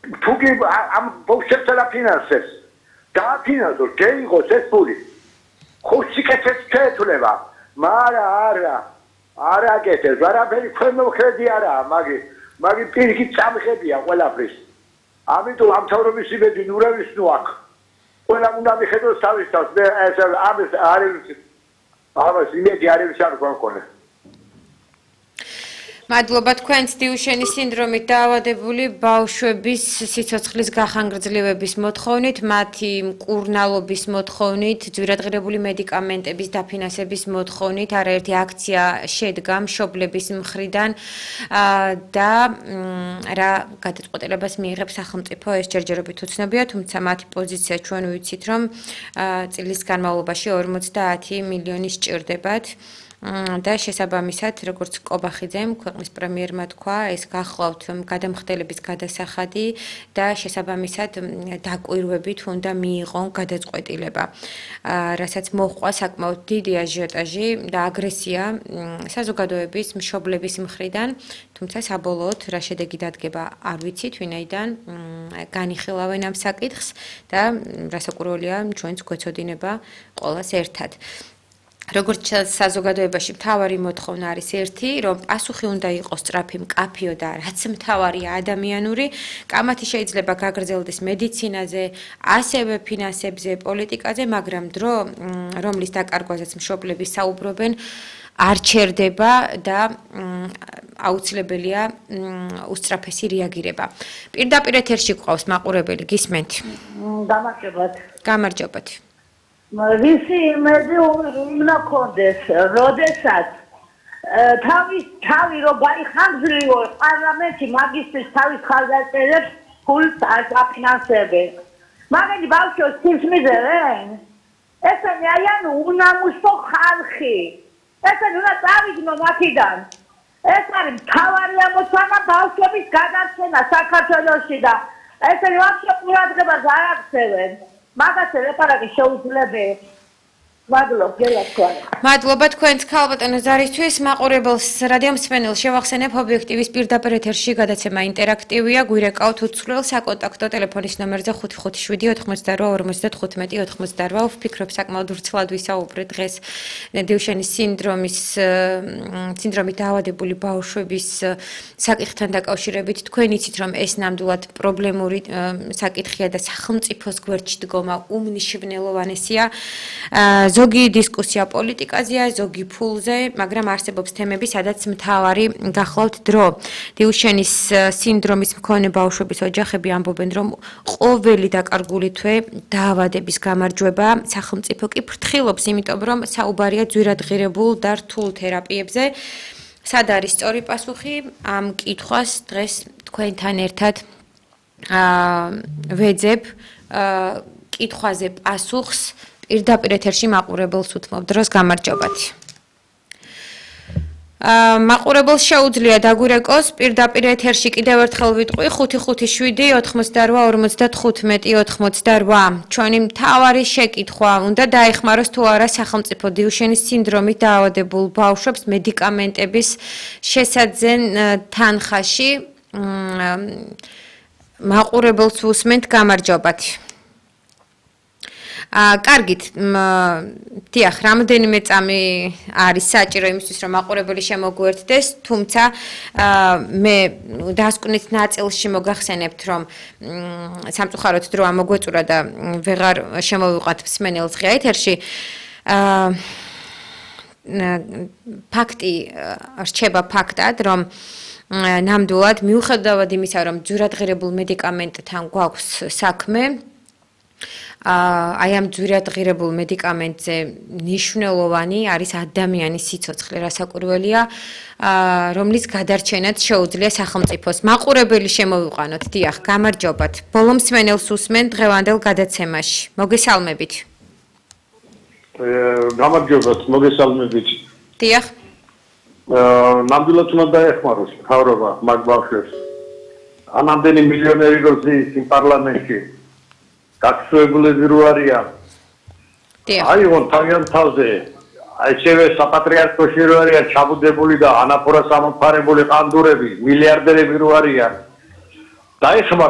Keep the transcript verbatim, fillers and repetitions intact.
თუ კი ამ ბავშვებს და ფინანსებს დააფინანსოს, შეიღოს ეს ფული. ხო სიკეთეს შეეცვლება, მაგრამ არა, არ აკეთებს, არაფერი ქვემო ხედი არაა, მაგი, მაგი პირიქით წამხედია ყველაფრის. ამიტომ ამ თავრობის იმედი ნურავის ნუ აქ. ყველამ უნდა მიხედოს თავის თავს, მე ეს ამის არის ამას იმედი არის არ გქონდა. მადლობა თქვენს დიუშენის სინდრომით დაავადებული ბავშვების სიცოცხლის გახანგრძლივების მოთხოვნით, მათი მკურნალობის მოთხოვნით, ძვირადღირებული მედიკამენტების დაფინანსების მოთხოვნით, არაერთი აქცია შედგა მშობლების მხრიდან და რა გადაწყვეტილებას მიიღებს სახელმწიფო, ეს ჯერჯერობით უცნობია, თუმცა მათი პოზიცია ჩვენ ვიცით, რომ წლის განმავლობაში ორმოცდაათი მილიონი სჭირდებათ. და შესაბამისად, როგორც კობახიძემ, ქვეყნის პრემიერმა თქვა, ეს გახლავთ გადამხდელების გადასახადი და შესაბამისად დაკვირვებით უნდა მიიღონ გადაწყვეტილება, რასაც მოჰყვა საკმაოდ დიდი აჟიოტაჟი და აგრესია საზოგადოების მშობლების მხრიდან, თუმცა საბოლოოდ რა შედეგი დადგება არ ვიცით, ვინაიდან განიხილავენ ამ საკითხს და რასაკვირველია, ჩვენც გვეცოდინება ყველას ერთად. როგორც საზოგადოებაში მთავარი მოთხოვნა არის ერთი, რომ პასუხი უნდა იყოს სწრაფი, მკაფიო და რაც მთავარია ადამიანური, კამათი შეიძლება გაგრძელდეს მედიცინაზე, ასევე ფინანსებზე, პოლიტიკაზე, მაგრამ დრო, რომლის დაკარგვაზეც მშობლები საუბრობენ, არ ჩერდება და აუცილებელია უსწრაფესი რეაგირება. პირდაპირ ეთერში გვყავს მაყურებელი, გისმენთ? გამარჯობათ. გამარჯობათ. Visi imedi უნდა კონდეს, როდესაც თავის თავი რო გაიხანგრძლივო პარლამენტი მაგისტრის თავის ხალხებს ფულს აფინანსებენ. მაგარი ბავშვებს ფულს მიზერენ? ესენი არიან უნამუსო ხალხი. ესენი უნდა წავიდნენ აქედან. ეს არის მთავარი ამოცანა ბავშვების გადარჩენა საქართველოში და ესენი ვაფშე ყურადღებას არ აქცევენ. მაგას რეპარატი შეუძლებელი. მადლობა, გელათქვა. მადლობა თქვენს ქალბატონო ზარისთვის, მაყურებელს რადიო მსმენელს შევახსენებ ობიექტივის პირდაპირ ეთერში გადაცემა ინტერაქტივია, გვირეკავთ უცვლელ საკონტაქტო ტელეფონის ნომერზე ხუთი ხუთი შვიდი ოთხმოცდაოთხ ორმოცდათხუთმეტი ოთხმოცდაოთხ. ვფიქრობ საკმაოდ ვრცლად ვისაუბრეთ დღეს დიუშენის სინდრომის სინდრომით დაავადებული ბავშვების საკითხთან დაკავშირებით. თქვენ იცით, რომ ეს ნამდვილად პრობლემური საკითხია და სახელმწიფოს გვერდში დგომა უმნიშვნელოვანესია. ზოგი დისკუსია პოლიტიკაზეა, ზოგი ფულზე, მაგრამ არსებობს თემები, სადაც მთავარი გახლავთ დრო. დიუშენის სინდრომის მქონე ბავშვების ოჯახები ამბობენ, რომ ყოველი დაკარგული თვე დაავადების გამარჯვება, სახელმწიფო კი ფრთხილობს, იმიტომ რომ საუბარია ძვირადღირებულ და რთულ თერაპიებზე. სად არის სწორი პასუხი? ამ კითხვას დღეს თქვენთან ერთად ვეძებ კითხვაზე პასუხს. პირდაპირ ეთერში მაყურებელს უთმობ დროს გამარჯობათ. მაყურებელს შეუძლია დაგვირეკოს პირდაპირ ეთერში კიდევ ერთხელ ვიტყვი ხუთი ხუთი შვიდი ოთხმოცდაოთხ ორმოცდათხუთმეტი ოთხმოცდაოთხ. ჩვენი მთავარი შეკითხვა უნდა დაეხმაროს თუ არა სახელმწიფო დიუშენის სინდრომით დაავადებულ ბავშვებს მედიკამენტების შესაძენ თანხაში. მაყურებელს უსმენთ გამარჯობათ. კარგით, დიახ, რამდენიმე წამი არის საჭირო იმისთვის, რომ მაყურებელი შემოგვერთდეს, თუმცა მე დასკვნით ნაწილში მოგახსენებთ, რომ სამწუხაროდ დრო ამოგვეწურა და ვეღარ შემოვიყვანთ მსმენელს ღია ეთერში. ფაქტი რჩება ფაქტად, რომ ნამდვილად მიუხედავად იმისა, რომ ძვირადღირებულ მედიკამენტთან გვაქვს საქმე, აი ამ ძვირადღირებულ მედიკამენტზე მნიშვნელოვანი არის ადამიანის სიცოცხლე, რასაკვირველია, რომლის გადარჩენაც შეუძლია სახელმწიფოს. მაყურებელი შემოვიყვანოთ, დიახ, გამარჯობათ. ბოლო მსმენელს უსმენ დღევანდელ გადაცემაში. მოგესალმებით. გამარჯობათ, მოგესალმებით. დიახ. ნამდვილად უნდა დაეხმაროს მთავრობა მაგ ბავშვებს. ანამდენი მილიონერი როზის იმ პარლამენტში გაქცევებულები რო არიან. აიღონ თავიანთ თავზე. ასევე საპატრიარქოში რო არიან ჩაბუდებული და ანაფორას ამოფარებული ყანდურები, მილიარდერები რო არიან. დაეხმაროს